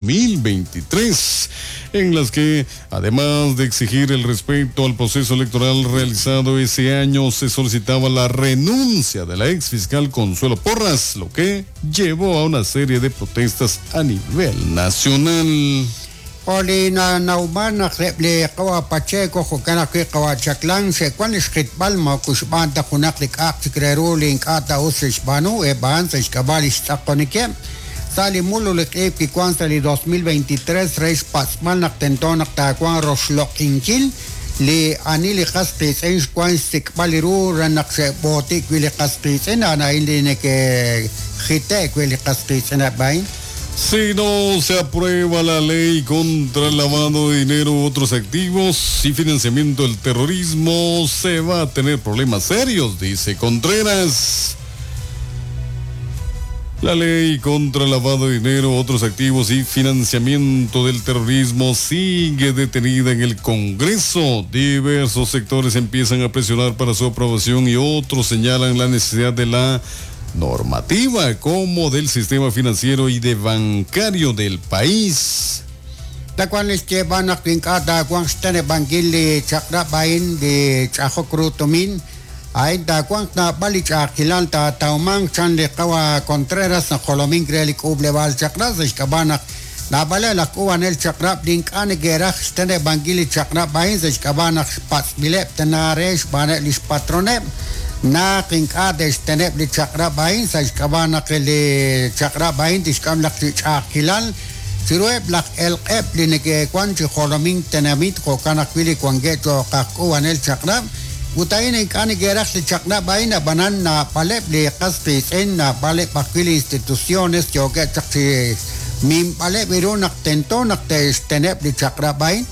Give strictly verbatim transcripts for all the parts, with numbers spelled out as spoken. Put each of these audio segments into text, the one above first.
mil veintitrés, en las que, además de exigir el respeto al proceso electoral realizado ese año, se solicitaba la renuncia de la exfiscal Consuelo Porras, lo que llevó a una serie de protestas a nivel nacional. Olina Nauman le qawa Pacheco jo'kan ajwi' qawa Chaklan xe'wan li xjitb'al moko xb'aan ta junaq li k'a'aq chik re ru li ink'a' ta us xe'xb'aanu eb'an sa' xk'ab'a' li xtz'aqonikeb' sa' li mul li q'iib kiwan sa' li dos mil veintitrés re xpatz'b'al naq tento naq taawan roxloq'inkil li ani li qas qiitz'in xwan xsik'b'al li ru re naq xe'b'ootik wi' li qas qiitz'in a'an a'in li neke'jite'k wi' li qas qiitz'in a'in. Si no se aprueba la ley contra el lavado de dinero u otros activos y financiamiento del terrorismo, se va a tener problemas serios, dice Contreras. La ley contra el lavado de dinero, otros activos y financiamiento del terrorismo sigue detenida en el Congreso. Diversos sectores empiezan a presionar para su aprobación y otros señalan la necesidad de la normativa como del sistema financiero y de bancario del país. Tacuan les llevan a quincata cuan están banquil chakra bain de chajocrutomin. Ay tacuan na balich aquilanta tauman chan le kawa Contreras na Jolomín crelik uble bal chakra se na bala la cuban el chakra link ane geraj están banquil chakra bain se cabana pats bilep tenares banelis patronet. Na kink'a te'xteneb' li chaq'rab' a'in sa' xk'ab'a' naq li chaq'rab' a'in tixk'am laj ch'a'ajkilal chiruheb' laj elq'eb' li neke'wan chi jolomink tenamit jo'kan ajwi' li wankeb' cho'q aj k'uub'anel chaq'rab' ut a'in ink'a' neke'raj li chaq'rab' a'in ab'anan naab'aleb' li qas qiitz'in naab'aleb' ajwi' li instituciones yookeb' chaq chi minb'aleb' ru naq tento naq te'xteneb' li chaq'rab' a'in.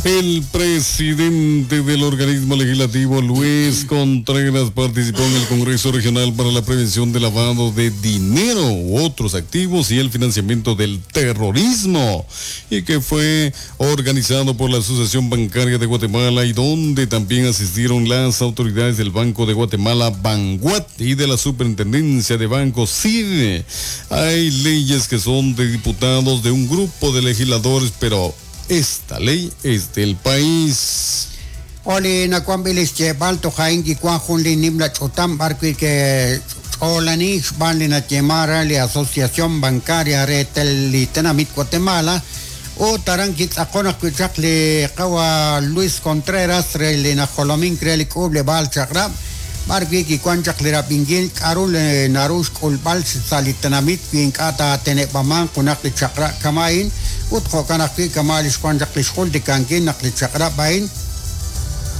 El presidente del organismo legislativo, Luis Contreras, participó en el Congreso Regional para la Prevención del Lavado de Dinero u otros activos y el financiamiento del terrorismo, y que fue organizado por la Asociación Bancaria de Guatemala y donde también asistieron las autoridades del Banco de Guatemala, Banguat, y de la Superintendencia de Bancos, S I D. Hay leyes que son de diputados, de un grupo de legisladores, pero esta ley es del país. Oli nakuambilis chebal tojain kikuan junli nimla chotam barqui que olani xbanli na chemara li Asociación Bancaria Retel Tenamit Guatemala o taranquit akona kuchak li kawa Luis Contreras reli na jolomin kreli kuble bal chakrab barqui kikuan chak li rapingil karul narush kulbal salitenamit kinkata tenebaman kunak li chakra kamain ut jo'kan ajwi' kama' li xwan chaq li xjul tikankin naq li chaq'rab' a'in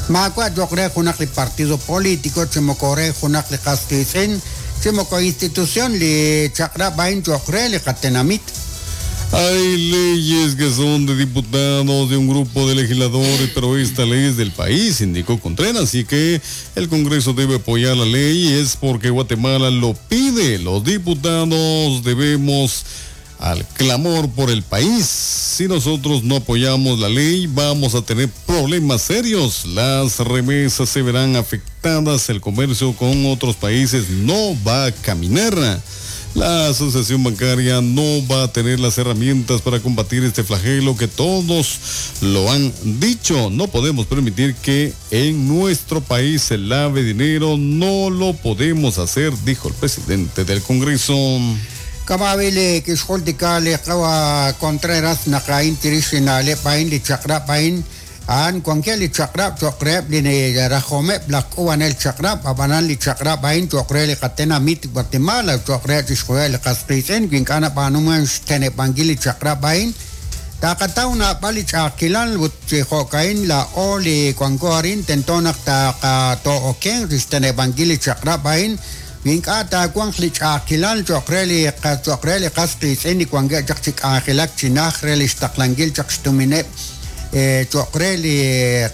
maawa' cho'q re junaq li partido político chi moko re junaq li qas qiitz'in chi moko institución li chaq'rab' a'in cho'q re li qatenamit. Hay leyes que son de diputados, de un grupo de legisladores, pero esta ley es del país, indicó Contreras, así que el Congreso debe apoyar la ley, es porque Guatemala lo pide. Los diputados debemos al clamor por el país. Si nosotros no apoyamos la ley, vamos a tener problemas serios. Las remesas se verán afectadas, el comercio con otros países no va a caminar. La Asociación Bancaria no va a tener las herramientas para combatir este flagelo que todos lo han dicho. No podemos permitir que en nuestro país se lave dinero, no lo podemos hacer, dijo el presidente del Congreso. Kamabili kixjultika li qawa Contreras naq a'in chirix li na'leb' a'in li chaq'rab' a'in a'an wankeb' li chaq'rab' cho'q reheb' li rajomeb' laj k'uub'anel chaq'rab' ab'anan li chaq'rab' a'in cho'q re li qatenamit Guatemala cho'q re chixjunil li qas qiitz'in wi ink'a' nab'aanuman xteneb'ankil li chaq'rab' a'in taqataw naab'al li ch'a'ajkilal ut chi jo'ka'in laa'o li wanko arin tento naq taqato'oken xteneb'ankil li chaq'rab' a'in ink'a' taawanq li ch'a'ajkilal cho'q re li cho'q re li qas qiitz'in li wankeb' chaq chi k'anjelak chi naj re li xtaqlankil chaq xtumineb' cho'q re li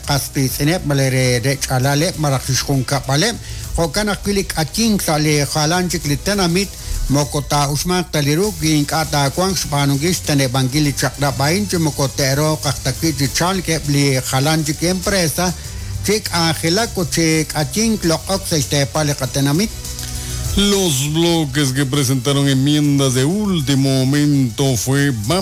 qas qiitz'ineb' malaj re re ch'alaleb' malaj xjunkab'aleb' jo'kan ajwi' li k'atink sa' li jalan chik li tenamit moko taa'uxmanq ta li ru wi ink'a' taawanq xb'aanunkil xteneb'ankil li chaq'rab' a'in chi moko te'rooq aj ta wi' chi chalkeb' li jalan chik empresa chi k'anjelak ut chi k'atink loq'ok sa' xteepal li qatenamit. Los bloques que presentaron enmiendas de último momento fue Vamos